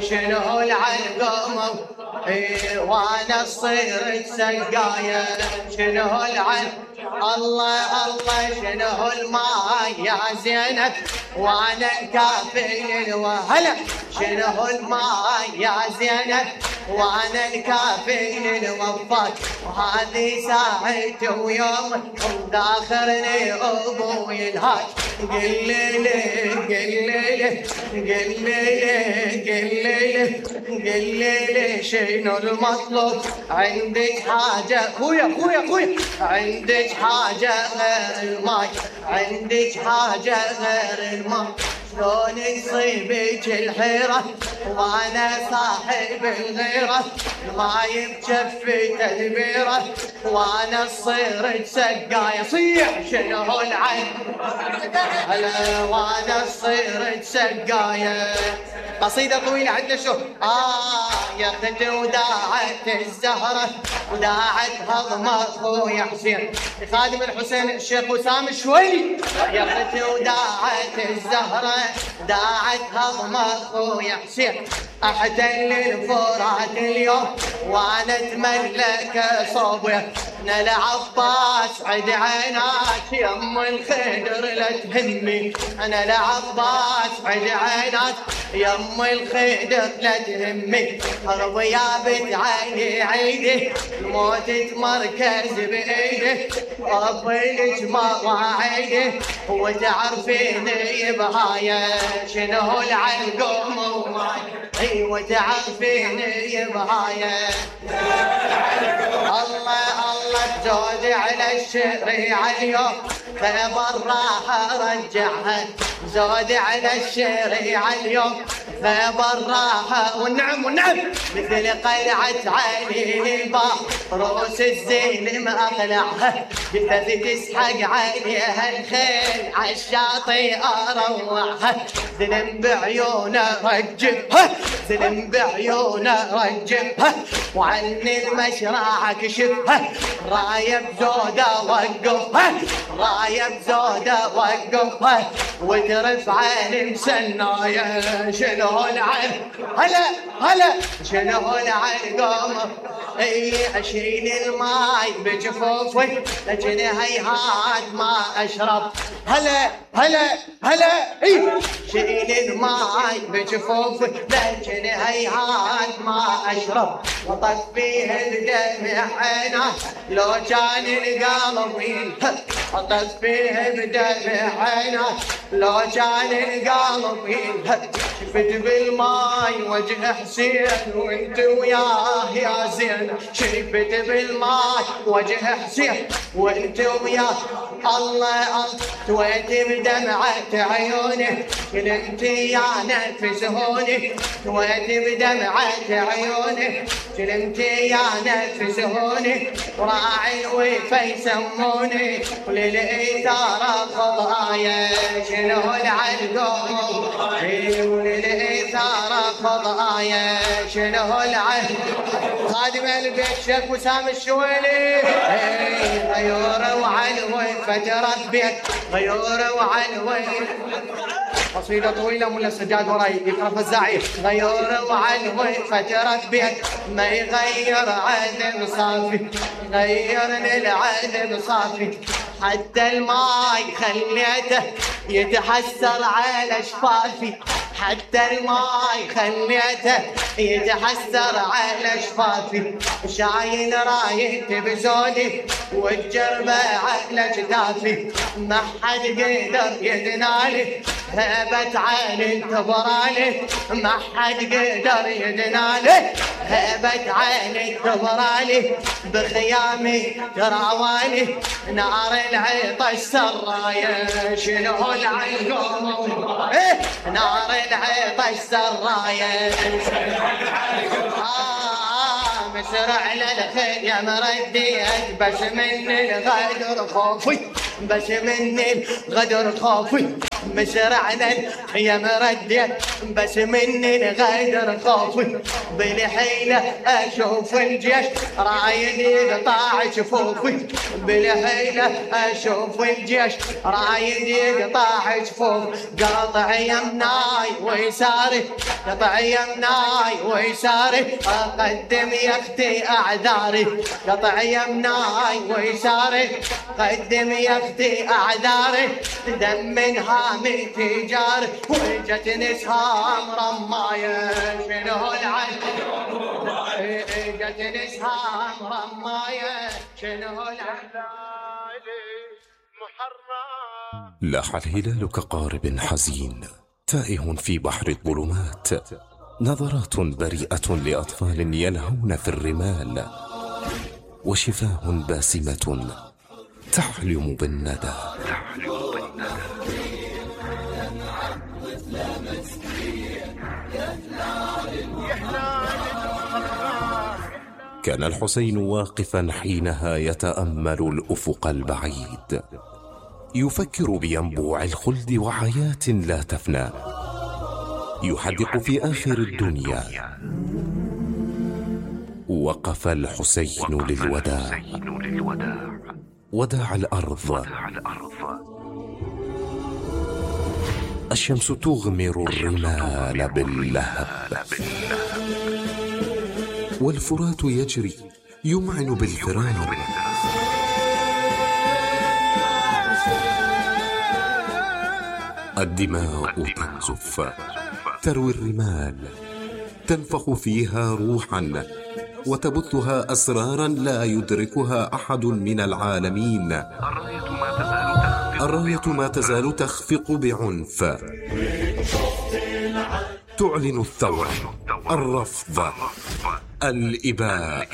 شنو العلقم وانا صير سقايه شنو العلقم الله الله شنو الماء يا زينب وانا الكافي الوهلا شنو الماء يا زينب وانا الكافي الوفاك وهذه ساعتي ويوم داخرني ابوي الهاج قل لي قل لي قل لي قل لي شنو المطلوب عندك حاجه خويا عندك حاجه غير الماي عندك حاجه غير الماي شلون يصيبك الحيرة وانا صاحب الغيرة الماي بجفي تدبيرة وانا صيرت سقاية صيح شنو العين هلا وانا صيرت سقاية قصيدة طويلة عندنا شو يا اختي وداعت الزهرة وداعت هضم اخويا حسين خادم الحسين الشيخ وسام الشويلي يا اختي وداعت الزهرة داعت هضم اخويا حسين احتل الفرات اليوم وانا اتملك صوبه انا العباس عد عينات يم الخدر لا تهمي انا العباس عد عينات يم الخدر لا تهمي حرب يا بنت عيني عيدي الموت تمركز بايدي ربي مواعيدي وتعرفيني بهايه شنو العلقم وماي وتعرفيني بهايه الله تزود على الشريعة اليوم خبر راح ارجعها زود على الشريعة اليوم خبر راح والنعم مثل قلعة عيني الباب روس الزين ما اقلعها جثث تسحق عليها الخيل عالشاطئ اروعها ذنب بعيونه رجبها ذنب بعيونه رجبها وعني المشرع كشفها رايه بزوده وقفها رايه بزوده وقفها وترفع المسنايه شنو العين هلا شنو العلقم اشيل الماي بجفوفي لكن هيهات ما اشرب هلا شيل الماي بجفوفي لكن هيهات ما اشرب وطفيه بدمع عينه لو كان القلب ينهب اطفيه بدمع عينه لو كان القلب ينهب شفت بالماي وجه حسين وانت وياه يا زين شفت بالماي وجه حسين وانت وياه الله تويت بدمعة عيوني كنت يا نفس هوني تويت بدمعة عيوني كنت يا نفس هوني راعي وفي يسموني وللإثارة خضايا شنو العلقم وللإثارة خضايا شنو العلقم خادم البيت شيخ وسام الشويلي غيور وعلوي فترة بيت غيور وعلوي قصيدة طويلة ملا السجاد وراي يقرا فزاعي غيور وعلوي فترة بيت ما يغير عذب صافي غيرني العذب صافي حتى الماي خليته يتحسر على شفافي حتى الماي خليته يتحسر على شفافي شايل رايته بزودي والجربة على جدافي ما حد قدر يدنالي هبت عيني انتظرالي ما حد قدر يدنالي هبت عيني انتظرالي بخيامي تراوالي نار العطش سرايا شنو العلقم نار العطش سرايا مسرع للخيم رديت بس من الغدر خوفي بس من الغدر خوفي مسرعنا يا مرديت بس مني غير خوفي بالحيلة اشوف الجيش رايد يقطع جفوفي بالحيلة اشوف الجيش رايد يقطع جفوف قاطع يمناي ويساري قطع يمناي ويساري اقدم يا اختي اعذاري قطع يمناي ويساري قدم يا اختي اعذاري دم من هامي تجاري وجتني سهام رمايه شنو العين جتني سهام رمايه شنو العين لاح الهلال كقارب حزين تائه في بحر الظلمات نظرات بريئة لأطفال يلهون في الرمال وشفاه باسمة تحلم بالندى كان الحسين واقفا حينها يتأمل الأفق البعيد يفكر بينبوع الخلد وحياة لا تفنى يحدق في آخر الدنيا وقف الحسين للوداع وداع الأرض الشمس تغمر الرمال باللهب والفرات يجري يمعن بالفرار الدماء تنزف تروي الرمال تنفخ فيها روحا وتبثها أسرارا لا يدركها أحد من العالمين الراية ما تزال تخفق بعنف تعلن الثورة الرفض الإباء